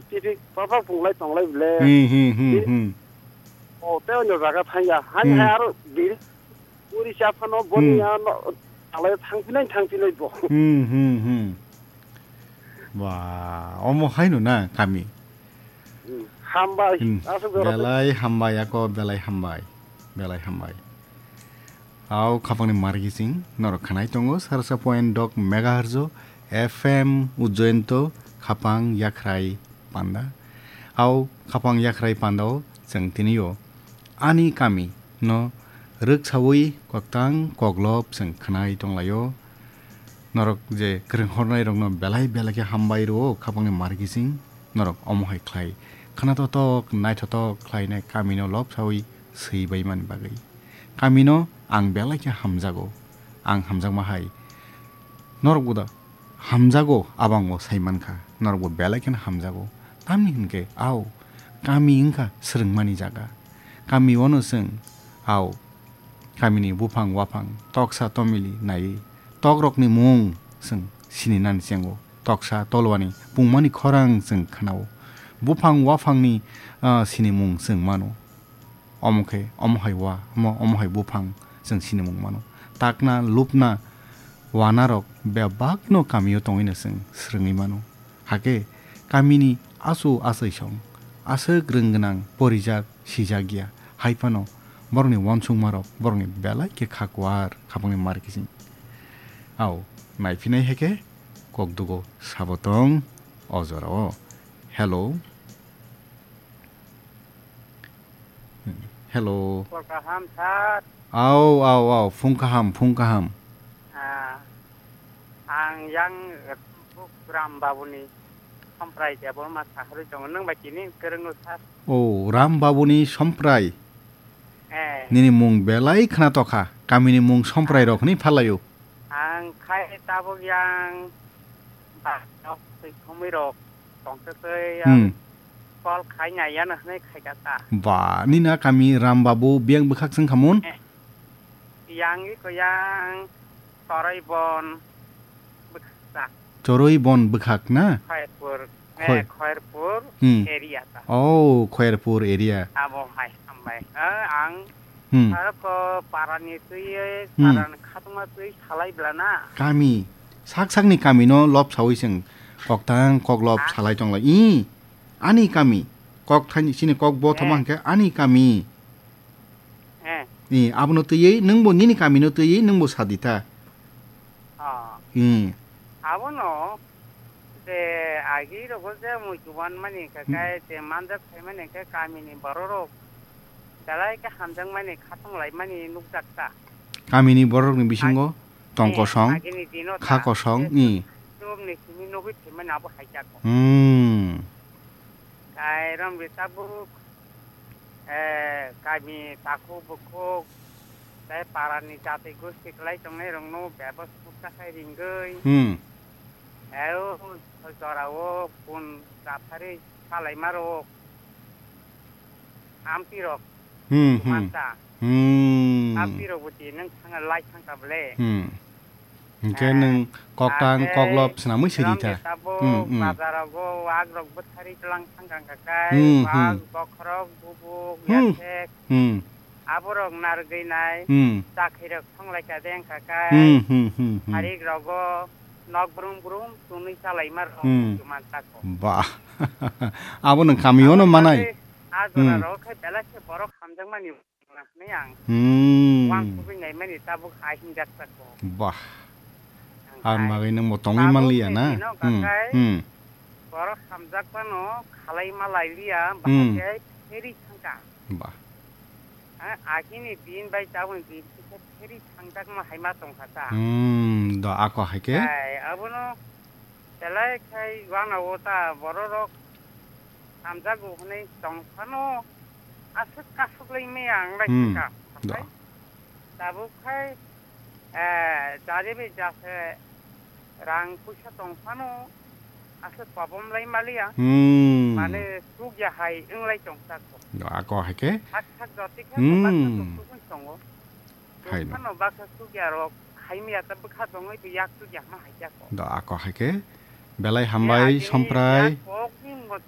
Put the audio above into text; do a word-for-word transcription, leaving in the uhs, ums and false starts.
Titi papa punglai tonglai bile. Hmm, hmm, hmm, hmm. O, tei onyo jaga thangya. Hani Hmm. hai aro biri. Uri cha phano boni Hmm. ano alai thangphinai thangphinai bo. Hmm, hmm, hmm. Ba, omo haino na kami? Hmm. Hambai. Hmm. Aswk jora tei Belai hambai ako, belai hambai. Belai hambai. Au khapangni margising norok khanai tongo, sarsa point dok megahertz o F M Ujjayanto khapang yakhrai panda. Au khapang yakhrai pandao chwng tinio ani kami no rwksaui koktang koklop chwng khanai tonglaio. Norok je kwrwng hornai rokno belai belai khe hambai rwo khapangni margising norok omo hai khlai khna totok naithotok khlainai kamino lobsaui swi baimani bagwi. Kamino ang belai khe hamjago. Ang hamjakma hai norokbo da hamjago, abango sai mankha, norokbo belai kheno hamjago. Tamni hinkhe, ao, kami wngkha swrwngmani jaga. Kami ono chwng, ao, kamini buphang waphang, toksa tomili naiwi, tokrokni mung chwng sininani chengo. Toksa tolwani pungmani khorang chwng khnao. Buphang waphangni, ah, sinimung chwng mano. Omo khe, omo hai wa, omo, omo hai buphang chwng sinimung mano. Takna, lupna, wanarok bebakno kamio tongwino chwng swrwngwi mano. Hakhe kamini achu achai song, aswk rwng gwnang, porijak, sijak ya, hai phano borokni uansukmarok borokni belai khe kha kuar khapangni mar kiching. Ao, naiphinai hai khe kokdugo sabo tong o jorao. Hello. Hello. Hor kaham, sir. Au, au, au, phung kaham, phung kaham. Ah, ang yang, eh, Ram Babuni Somprai Debbarma saharwi tongo. Nung bai tini kwrwngo, sir. Oh, Ram Babuni Somprai. Eh. Nini mung belai khna tokha. Kamini mung Somprai rok hwnwi phalaio. Ang khai tabuk yang ba, twi khumui rok tongtwtwi Hmm. ang call khai nai yano hwnwi khai kha ta. Ba, nini a kami Ram Babu biyang bwkhak swng khamun? Eh, yang iko yang Choroi Bon bwkhak ta. Choroi Bon bwkhak na? Khairpur, Khoi- eh, Khairpur Hmm. area ta. Oh, Khairpur area. Abo hai hambai. Eh, ang Hmm. Aro ko parani twi, Hmm. parani khatungma twi salai bla na. Kami, sak sakni kamino lobsaui chwng koktang koklop Ah. salai tonglai. I, ani kami, kok thani chini kok bo thoma Eh. hwnkhe ani kami. Eh. I, abono twiwi, nwngbo nini kamino twiwi, nwngbo sadita. Ah. Hmm. Abono je agi rogo je mui chuban mani ka Hmm. kai je manjak sai mani ka kamini bororok belai ke hamjak mani khatung lai mani nukjak ta. Kamini bororokni bisingo Ag-, tong eh, kosong, agini dino kha ta. Kosong, Je i. Chumni simi nugui thai mani abo hai jako. Hmm. Kai rom ri tabuk eh, kami takhuk bukhuk, tei parani jati gosti kwlai tongnai rokno bebos bukcha khai ringwi, Hmm. eh, o jorao kun japharwi salaima rok, amtwi rok Hmm, hmm. manta. Hmm. Amtwi rok bo tini nang thang lai thang ta bole. Hmm. Hingkhe Ah, nwng koktang ake koklop swnamwi sidi rom ta. Tabuk Hmm, hmm. Bazar rogo wak rok bwthari tlang thang kang kha kai, Hmm, wak hmm. Bokhorok bubuk Hmm. Yathek. Hmm. Aborok narwgwi nai, Hmm. Chakhirok thonglai kha de wngkha kai. Hmm, hmm, hmm, hmm. Harik rogo nok brum brum tunui chalaima rok Hmm. Chuman tako. Bah. Abo nwng kamio no manai. Abo manai. A jora Hmm. Rok khai belai khe borok hamjakmani hwnwi ang Hmm. Uansugwi naimani tabuk hai hinjak tako. Bah. Ang Ang hai bagwi nwng bo tongwi tabuk manliya ni na? Dino Hmm. Kakai Hmm. Borok hamjak phano khalai ma lai liya, Hmm. Bahai khe pheri thangka. Bah. Ha, agini din bai tabukni din khe pheri thangjakma hai ma tongkha ta. Hmm, do ako hai khe? Hai, abono belai khai uanao ta bororok hamjago hwnwi tong phano aswk kasuk lai maya ang lai Hmm, kha. Do. Tabuk khai, eh, jari bai jase rang puisa tong phano aswk kobom lai maliya. Hmm. Mane suk ya hai wng lai tong tako. Ako hai khe? Sak sak joti khe Hmm. Baksa suk suk wng tongo. Hai no. Phano baksa suk ya rok hai miya ta bwkha tongwi twi yak suk ya ma hai jako. Do ako hai khe? Belai hambai, eh, agini Somprai. Yak kok ni mote